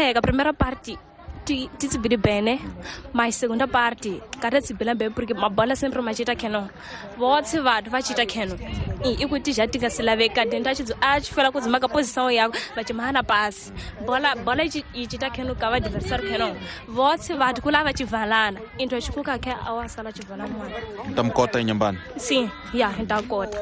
Hluleka primeira parte ti tsibili bene, mas segunda parte kada tsibila bene porque mabola sempre machita keno. Votse vanhu va chita keno. I ku ti ja ti nga si laveka denta a tshi fela ku dzima ka posição yako va tshi mahana pasi. Bola bola yi chita keno ka va adversário keno. Votse vanhu ku lava chivalana. Into xikuka ke a wa sala chivala mwana. Ntamkota inyambani. Sim, ya ntakota.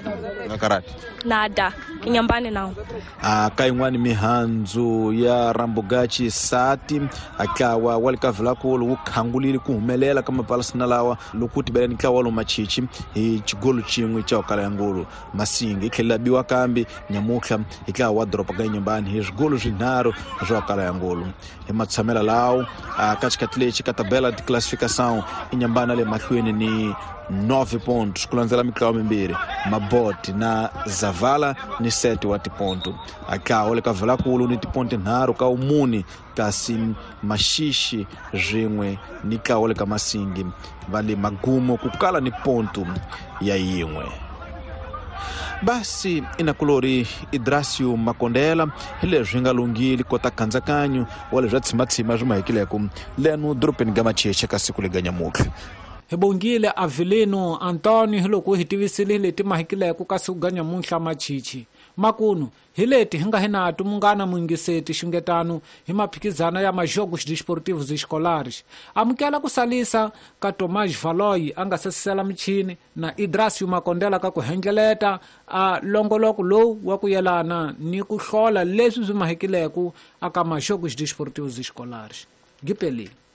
Nga karati. Nada, inyambani nawo. A ka yin'wani mihandzu ya rambugachi sati a ntlawa wa le ka Vilakulu wu khangulile ku humelela ka mapalasina lawa loko wu tibela ni ntlawa lowu machichi hi xigolo xin'we xa kala ya ngulu masingi yi tlhela biwa kambe nyamutlha hi ntlawa wa doroba ka Inhambane hi swigolo swinharhu swa kala ya ngulu hi matshamela lawo a ka xikhathi lexi ka tabela de classificação Inhambane le mahlweni ni 9 pontos ku landzela mitlawa mimbirhi Maboti na Zavala ni 7 wa tiponto a ntlawa le ka Vilakulu ni tiponto nharhu ka umuni kasi Maxixi swin'we ni ntlawa le ka Masingi va le magumo ku kala ni ponto ya yin'we. Basi inakulori Idrasio Makondela hi leswi nga lunghile kota khandzakanyo wa leswi tshimathima swi mahekileko leno dorobeni ga Macheche ka siku lega nyamutlha. Hi bongile Avelino Antonio hi loko hi tivisile leti mahekileko ka siku ga nyamutlha Machichi makunu hi leti hi nga hi nato munghana muyingiseti xungetano hi maphikizana ya majogos desportivos escolares. Amukela ku salisa ka Tomás Valoy a nga sesisela michini na Idrasio Makondela ka ku hendleleta a longoloko lowu wa ku yelana ni ku hlola leswi swi mahekileko aka majogos desportivos escolares. Gipelile.